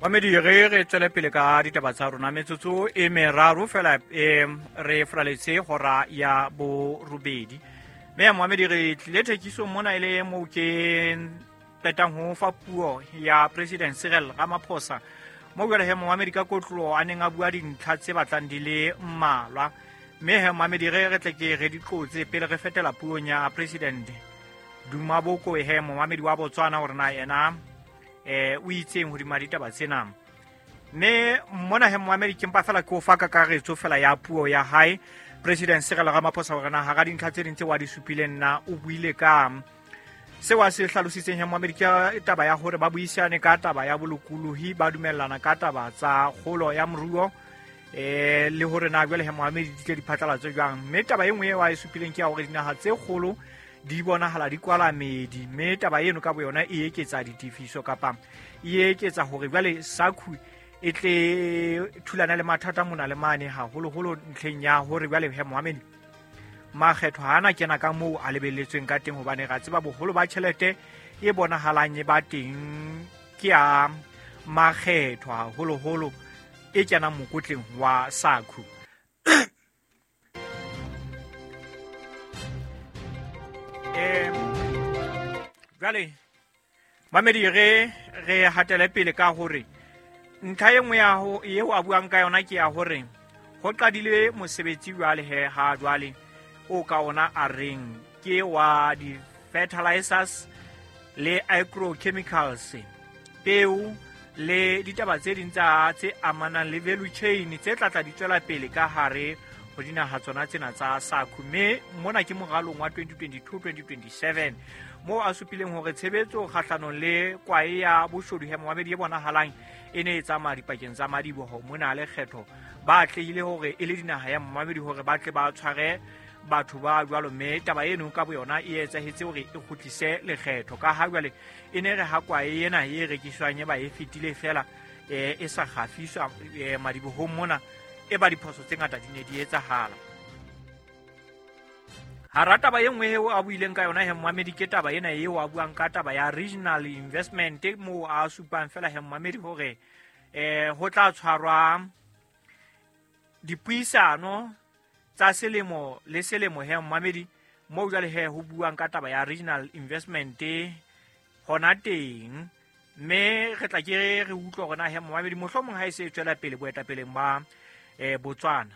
Mamedi, re tswele pele ka ditaba tsa rona. Metsotso e meraro fela e re fraletse hora ya borobedi. Mme ya moamedi, re tlile thekisong mona e le moo ke qetang ho fa puo ya President Cyril Ramaphosa, mo jwale he moamedi ka kotlo a neng a bua dintlha tse batlang di le mmalwa. Mme he moamedi, re tle ke re di qotse pele re fetela puong ya President Duma Boko, he moamedi wa Botswana, hore na ena o itseng hodima ditaba tsena. Mme mona he moamedi, ke mpa fela ke o fa kakaretso fela ya puo ya hae President Cyril Ramaphosa, hore na hara dintlha tse ding tse wa di supileng na o buile ka seo a se hlalositseng. He moamedi, ke taba ya hore ba buisane ka taba ya bolokolohi, ba dumellana ka taba tsa kgolo ya moruo, le hore na jwale he moamedi di tle di phatlalatse jwang. Mme taba e nngwe eo a e supileng ke ya hore dinaha tse kgolo di bonahala di kwala medi, mme taba eno ka boyona e eketsa ditefiso kapa e eketsa hore jwale SACU e tle thulana le mathata mona le mane, haholoholo ntlheng ya hore jwale he moamedi makgetho ha ana kena ka moo a lebelletsweng ka teng, hobane ra tseba boholo ba tjhelete e bonahalang e ba teng ke ya makgetho, haholoholo e kenang mokotleng wa SACU. Jwale mamedi, re hatele pele ka hore ntlha e nngwe ya ho eo a buang ka yona ke ya hore ho qadile mosebetsi jwale he ha jwale o ka ona a reng ke wa di-fertilizers le agrochemicals, peo le ditaba tse ding tsa tse amanang le value chain tse tlatla di tswela pele ka hare ho dinaha tsona tsena tsa SACU. Mme mona ke moralong wa 2022-2027, moo a supileng hore tshebetso kgahlanong le kwae ya boshodu he moamedi e bonahalang e ne e tsamaya dipakeng tsa madiboho mona lekgetho, ba atlehile hore e le dinaha ya momamedi hore ba tle ba tshware batho ba jwalo. Mme taba eno ka boyona e etsahetse hore e kgutlise lekgetho, ka ha jwale e ne re ha kwae ena e rekiswang e ba e fetile fela, e sa kgafiswa madibohong mona, e ba diphoso tse ngata di ne di etsahala. Hara taba e nngwe eo a buileng ka yona he moamedi ke taba ena eo a buang ka taba ya regional investment, moo a supang fela he moamedi hore ho tla tshwarwa dipuisano tsa selemo le selemo he moamedi, moo jwale he ho buang ka taba ya regional investment hona teng. Mme re tla ke re utlwe hore na he moamedi mohlomong ha e se e tswela pele boetapeleng ba Botswana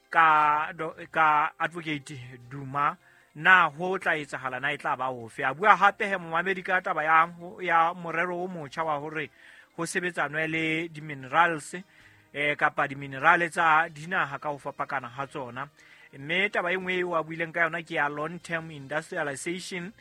ka Advocate Duma, na ho tla etsahala, na e tla ba ofe. A bua hape he moamedi ka taba ya morero o motjha wa hore ho sebetsanwe le di-minerals, kapa di-minerale tsa dinaha ka ho fapakana ha tsona. Mme taba e nngwe eo a buileng ka yona ke ya long term industrialization,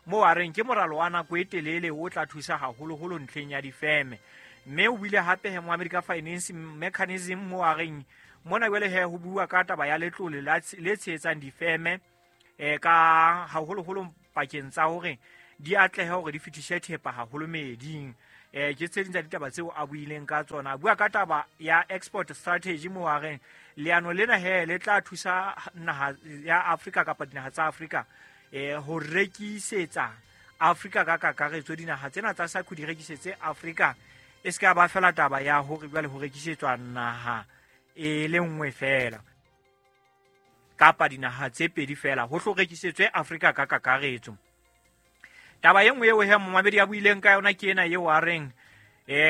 moo a reng ke moralo wa nako e telele o tla thusa haholoholo ntlheng ya difeme. Mme o buile hape he moamedi ka finance mechanism, moo a reng mona jwale he ho bua ka taba ya letlole le tshehetsang difeme, ka haholoholo pakeng tsa hore di atlehe hore di fetise thepa haholo meeding. Ke tse ding tsa ditaba tseo a buileng ka tsona. A bua ka taba ya export strategy, moo a reng leano lena he le tla thusa naha ya Afrika kapa dinaha tsa Afrika, ho rekisetsa Afrika ka kakaretso, dinaha tsena tsa SACU di rekisetse Afrika, e se ka ba fela taba ya hore jwale ho rekisetswa naha e le nngwe fela kapa dinaha tse pedi fela, ho tlo rekisetswe Afrika ka kakaretso. Taba e nngwe eo he momamedi a buileng ka yona ke ena eo a reng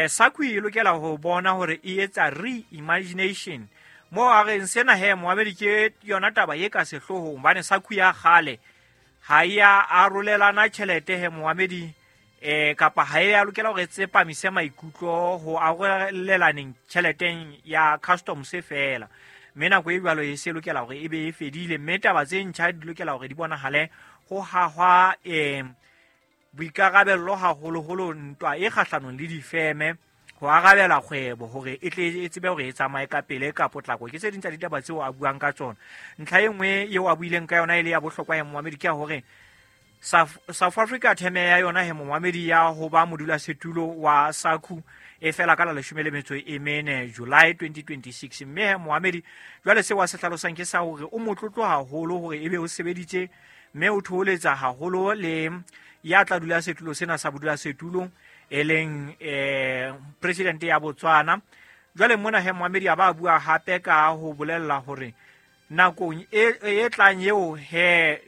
SACU e lokela ho bona hore e etsa reimagination, moo a reng sena he momamedi ke yona taba e ka sehloohong, hobane SACU ya kgale ha e ya arolelana tjhelete he momamedi, kapa ha e ya lokela hore e tsepamise maikutlo ho arolelaneng tjheleteng ya customs fela. Mme nako e jwalo e se lokela hore e be e fedile, mme taba tse ntjha di lokela hore di bonahale ho hahwa boikarabello haholoholo ntwa e kgahlanong le difeme, ho arabela kgwebo hore e tle e tsebe hore e tsamaye ka pele ka potlako. Ke tse ding tsa ditaba tseo a buang ka tsona. Ntlha e nngwe eo a buileng ka yona e le ya bohlokwa ya momamedi ke ya hore South Africa theme ya yona he momamedi ya ho ba modulasetulo wa SACU e fela ka la 14 July 2026. Mme he momamedi jwale seo a se hlalosang ke sa hore o motlotlo haholo hore ebe o sebeditse, mme o thoholetsa haholo le ya tla dula setulo sena sa bodulasetulo. E leng president ya Botswana. Jwale mona he momamedi a ba bua hape ka ho bolella hore nakong e tlang eo he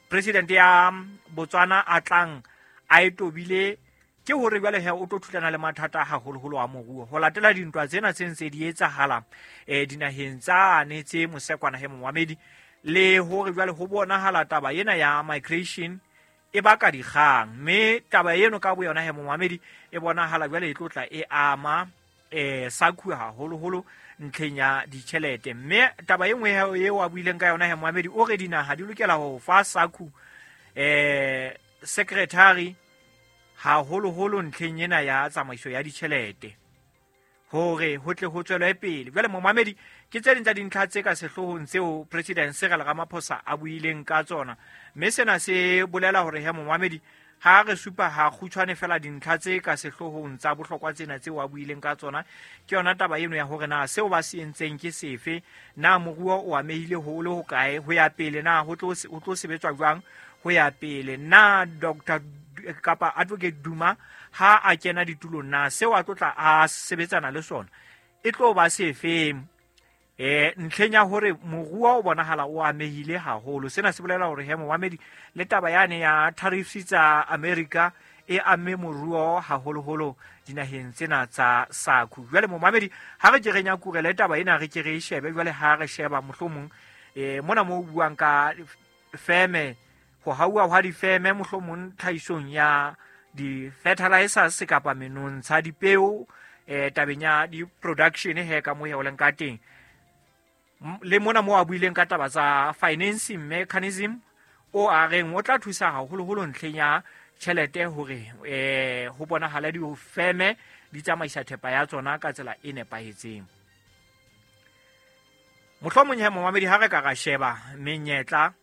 president ya Botswana a tlang a e tobile, ke hore jwale he o tlo thulana le mathata haholoholo a moruo ho latela dintwa tsena tse ntse di etsahala dinaheng tsane tse mosekwana he momamedi, le hore jwale ho bonahala taba ena ya migration e baka dikgang, mme taba eno ka boyona he momamedi e bonahala jwale e tlo tla e ama SACU haholoholo ntlheng ya ditjhelete. Mme taba e nngwe eo a buileng ka yona he momamedi, o re dinaha di lokela ho fa SACU secretary haholoholo ntlheng ena ya tsamaiso ya ditjhelete hore ho tle ho tswelwe pele. Jwale momamedi, ke tse ding tsa dintlha tse ka sehloohong tseo President Cyril Ramaphosa a buileng ka tsona, mme sena se bolela hore he momamedi, ha re supa ha kgutshwane fela dintlha tse ka sehloohong tsa bohlokwa tsena tseo a buileng ka tsona, ke yona taba eno ya hore na seo ba se entseng ke sefe, na moruo o amehile ho le hokae ho ya pele, na ho tlo sebetswa jwang ho ya pele, na Dr kapa Advocate Duma ha a kena ditulong na seo a tlo tla a sebetsana le sona e tlo ba sefeng ntlheng ya hore moruo o bonahala o amehile haholo. Sena se bolela hore he momamedi, le taba yane ya tariffs tsa America e amme moruo haholoholo dinaheng tsena tsa SACU. Jwale momamedi, ha re ke re nyakurele taba ena, re ke re e shebe jwale ha re sheba mohlomong mona mo buang ka feme, ho hauwa hwa difeme mohlomong tlhahisong ya di-fertilizers kapa menontsha, dipeo, tabeng ya di-production he ka mo he o leng ka teng. Le mona mo a buileng ka taba tsa financing mechanism o a reng o tla thusa haholoholo ntlheng ya tjhelete hore ho bonahala difeme di tsamaisa thepa ya tsona ka tsela e nepahetseng. Mohlomong he momamedi, ha re ka ra sheba menyetla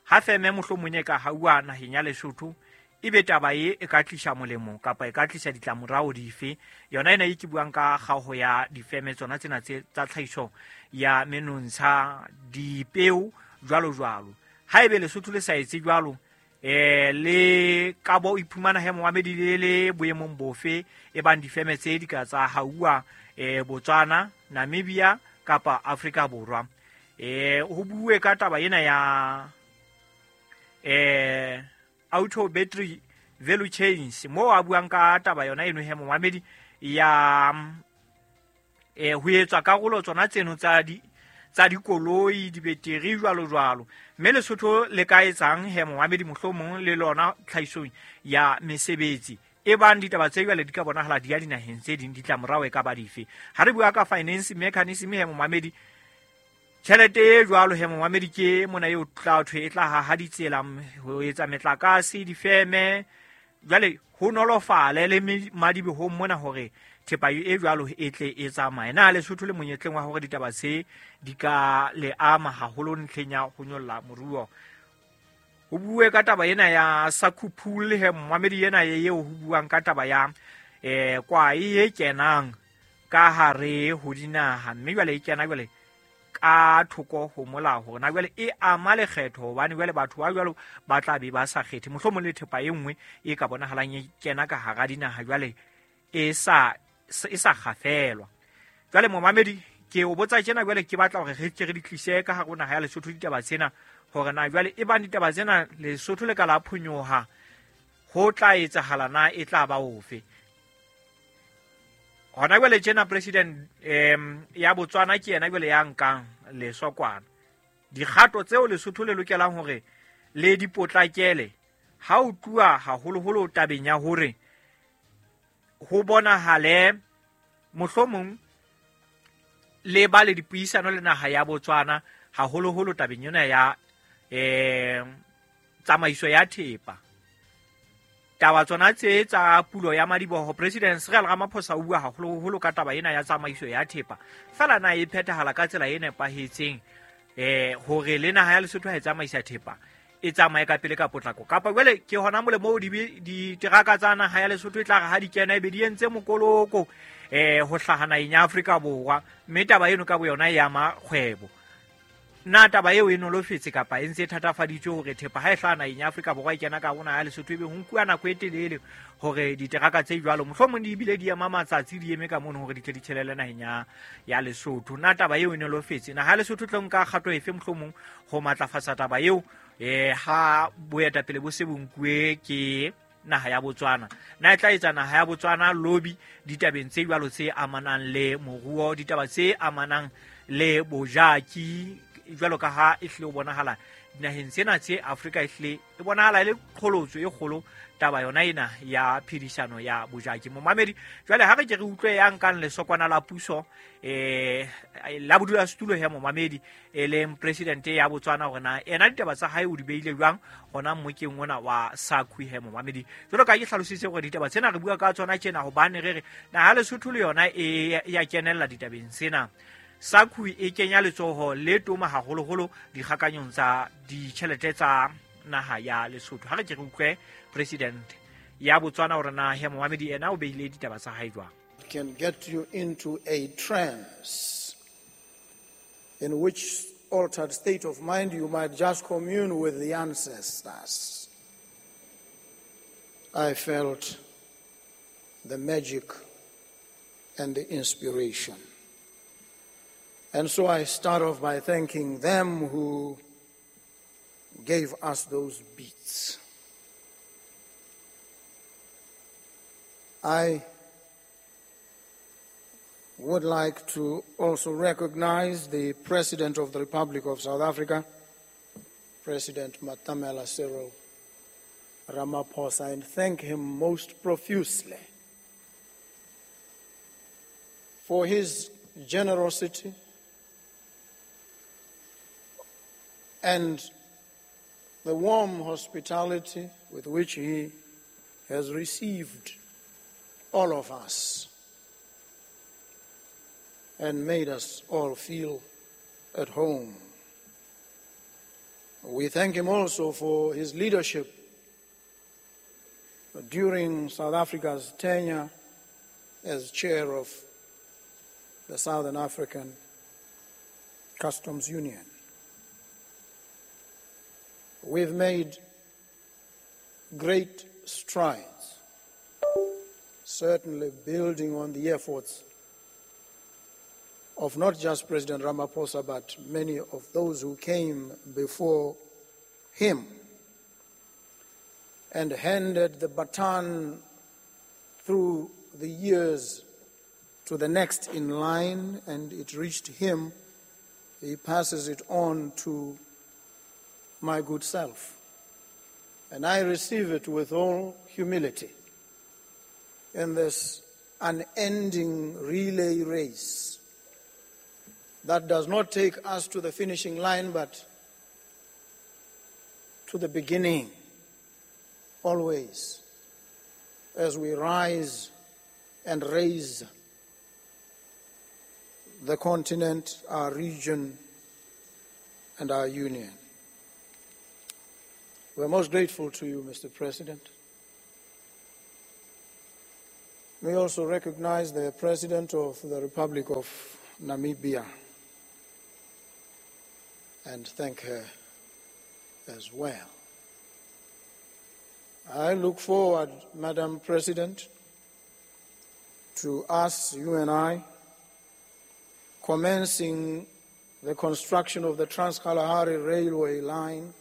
ha feme mohlomong e ka hauwa naheng ya Lesotho, ebe taba e e ka tlisa molemo kapa e ka tlisa ditlamorao dife. Yona ena e ke buang ka kgaoho ya difeme tsona tsena tse tsa tlhahiso ya menontsha, dipeo jwalo jwalo. Haebe Lesotho le sa etse jwalo, le ka bo iphumana he momamedi le le boemong bofe e bang difeme tse di ka tsa hauwa Botswana, Namibia kapa Afrika Borwa. Ho bue ka taba ena ya auto battery value chains, mo a buang ka taba yona eno he momamedi ya ho etswa karolo tsona tseno tsa dikoloi, dibeteri jwalo jwalo. Mme Lesotho le ka etsang he momamedi mohlomong le lona tlhahisong ya mesebetsi e bang ditaba tse jwale di ka bonahala di ya dinaheng tse ding, ditlamorao e ka ba dife. Ha re bua ka finance mechanism he momamedi, tjhelete e jwalo he momamedi ke mona eo tla thwe e tla haha ditsela, ho etsa metlakase, difeme, jwale ho nolofale le madibohong mona hore thepa e jwalo e tle e tsamaye. Na Lesotho le monyetleng wa hore ditaba tse di ka le ama haholo ntlheng ya ho nyolla moruo. Ho bue ka taba ena ya SACU pool he momamedi, ena eo ho buang ka taba ya kwae e kenang ka hare ho dinaha, mme jwale e kena jwale ka thoko ho molao hore na jwale e ama lekgetho, hobane jwale batho ba jwalo ba tla be ba sa kgethe. Mohlomong le thepa e nngwe e ka bonahalang e kena ka hara dinaha jwale e sa kgafelwa. Jwale momamedi, ke o botsa tjena jwale ke batla hore re ke re di tlise ka hare ho naha ya Lesotho ditaba tsena, hore na jwale e bang ditaba tsena Lesotho le ka la phonyoha, ho tla etsahala na e tla ba ofe. Hona jwale tjena president ya Botswana ke yena jwale ya nkang lesokwana. Dikgato tseo Lesotho le lokelang hore le di potlakele ha o tluwa haholoholo tabeng ya hore ho bonahale mohlomong le ba le dipuisano le naha ya Botswana haholoholo tabeng yona ya tsamaiso ya thepa. Taba tsona tse tsa pulo ya madiboho, President Cyril Ramaphosa o bua haholoholo ka taba ena ya tsamaiso ya thepa. Fela na e phethahala ka tsela e nepahetseng hore le naha ya Lesotho ha e tsamaisa thepa e tsamaye ka pele ka potlako, kapa jwale ke hona mole moo diteraka tsa naha ya Lesotho e tla re ha di kena ebe di entse mokoloko ho hlaha naheng ya Afrika Borwa, mme taba eno ka boyona e ama kgwebo. Na taba eo e nolofetse kapa e ntse e thatafaditswe hore thepa ha e hlaha naheng ya Afrika Borwa e kena ka hona ya Lesotho, ebe ho nkuwa nako e telele hore diteraka tse jwalo mohlomong di ebile di ema matsatsi di eme ka mono hore di tle di tjhelele naheng ya Lesotho. Na taba eo e nolofetse? Naha ya Lesotho tlo nka kgato efe mohlomong ho matlafatsa taba eo ha boetapele bo se bo nkuwe ke naha ya Botswana? Na e tla etsa naha ya Botswana lobby ditabeng tse jwalo tse amanang le moruo, ditaba tse amanang le bojaki, jwalo ka ha e hlile o bonahala dinaheng tsena tse Afrika e hlile e bonahala e le qholotso e kgolo taba yona ena ya phedisano ya bojaki. Momamedi, jwale ha re ke re utlwe ya nkang lesokwana la puso la bodulasetulo ya momamedi e leng president ya Botswana hore na ena ditaba tsa hae o di beile jwang hona mmokeng ona wa SACU he momamedi. Jwalo ka ke hlalositse hore ditaba tsena re bua ka tsona tjena hobane re re naha Lesotho le yona e ya kenella ditabeng tsena. SACU e kenya letsoho le toma haholoholo dikgakanyong tsa ditjhelete tsa naha ya Lesotho. Ha re ke re utlwe president ya Botswana hore na he momamedi ena o beile ditaba tsa hae jwang. Can get you into a trance in which altered state of mind you might just commune with the ancestors. I felt the magic and the inspiration. And so I start off by thanking them who gave us those beats. I would like to also recognize the President of the Republic of South Africa, President Matamela Cyril Ramaphosa, and thank him most profusely for his generosity and the warm hospitality with which he has received all of us and made us all feel at home. We thank him also for his leadership during South Africa's tenure as chair of the Southern African Customs Union. We've made great strides, certainly building on the efforts of not just President Ramaphosa, but many of those who came before him and handed the baton through the years to the next in line, and it reached him. He passes it on to my good self. And I receive it with all humility in this unending relay race that does not take us to the finishing line, but to the beginning, always, as we rise and raise the continent, our region, and our union. We're most grateful to you, Mr. President. We also recognize the President of the Republic of Namibia and thank her as well. I look forward, Madam President, to us, you and I, commencing the construction of the Trans-Kalahari Railway line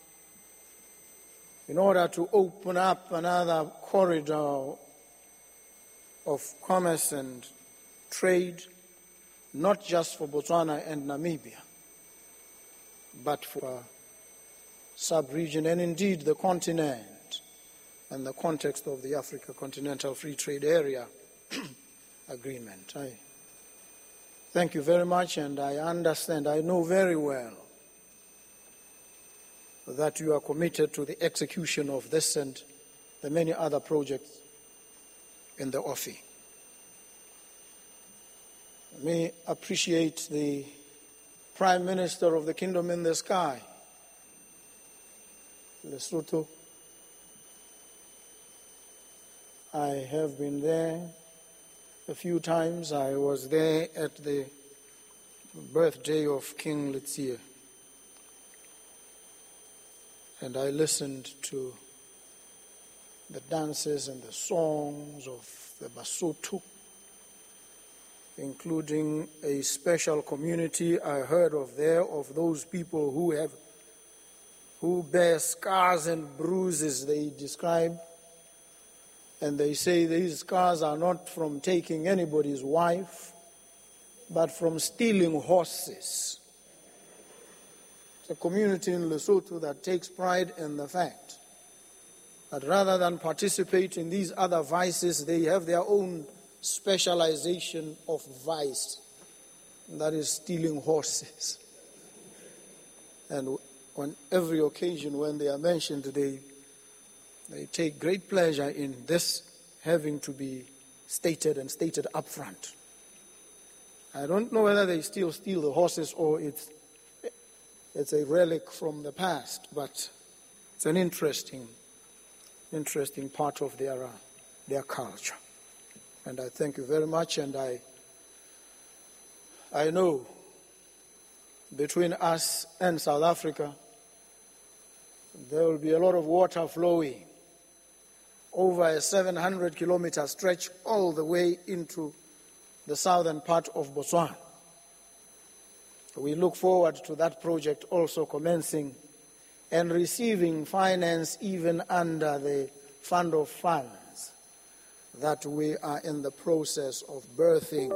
in order to open up another corridor of commerce and trade, not just for Botswana and Namibia, but for sub-region and indeed the continent and the context of the Africa Continental Free Trade Area Agreement. I thank you very much, and I understand, I know very well that you are committed to the execution of this and the many other projects in the OFI. Let me appreciate the Prime Minister of the Kingdom in the Sky, Lesotho. I have been there a few times. I was there at the birthday of King Letsie And I listened to the dances and the songs of the Basotho, including a special community I heard of there, of those people who bear scars and bruises, they describe. And they say these scars are not from taking anybody's wife, but from stealing horses. It's a community in Lesotho that takes pride in the fact that rather than participate in these other vices, they have their own specialization of vice, and that is stealing horses. And on every occasion when they are mentioned, they take great pleasure in this having to be stated and stated up front. I don't know whether they still steal the horses or it's a relic from the past, but it's an interesting part of their culture. And I thank you very much, and I know between us and South Africa, there will be a lot of water flowing over a 700-kilometer stretch all the way into the southern part of Botswana. We look forward to that project also commencing and receiving finance even under the Fund of Funds that we are in the process of birthing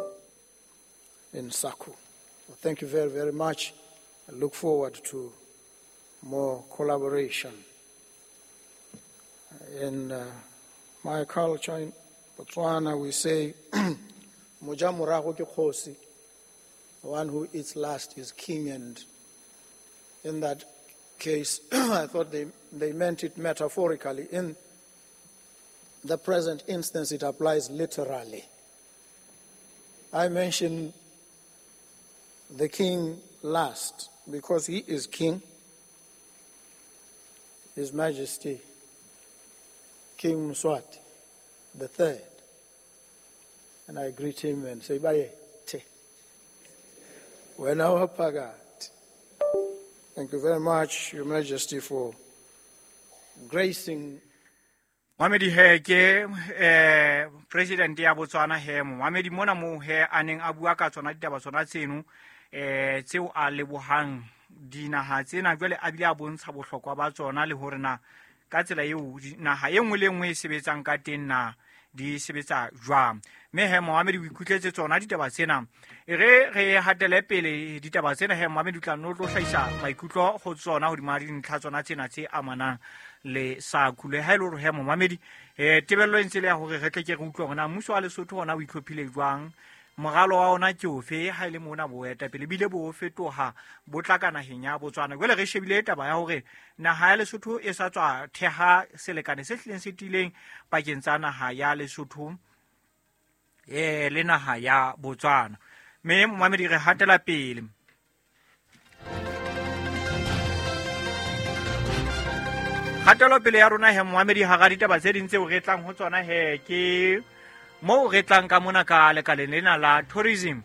in SACU. Well, thank you very, very much. I look forward to more collaboration. In my culture in Botswana, we say, Moja morago ke kgosi. The one who eats last is king, and in that case, I thought they meant it metaphorically. In the present instance, it applies literally. I mention the king last because he is king. His Majesty, King Mswati the Third. And I greet him and say, Baye, te. Wena pagat. Thank you very much, Your Majesty, for gracing. Mohamedi he ke president ya Botswana he Mohamedi mona mo he a neng a bua ka tsona ditaba tsona tseno tseo a lebohang dinaha tsena jwale a bile a bontsha bohlokwa ba tsona le hore na ka tsela eo naha e nngwe le nngwe e sebetsang ka teng na di sebetsa jwang. Mme he Mohamedi o ikutletse tsona ditaba tsena. E re hatele pele ditaba tsena he Mohamedi o tla no tlo hlahisa maikutlo ho tsona hodima dintlha tsona tsena tse amanang le SACU. Le ha e le hore he Mohamedi tebello e ntse le ya hore re tle ke re utlwe hore na mmuso wa Lesotho ona o itlhophile jwang, moralo wa ona ke ofe ha ile mona boetapele bile bo fetoha bo tla ka naheng ya Botswana. Jwale re shebile taba ya hore naha ya Lesotho e sa tswa theha selekane se hlileng se tiileng pakeng tsa naha ya Lesotho le naha ya Botswana. Mme Mohamedi re hatela pele. Hatelo pele ya rona he Mohamedi hara ditaba tse ding tseo re tlang ho tsona he ke moo re tlang ka mona ka lekaleng lena la tourism.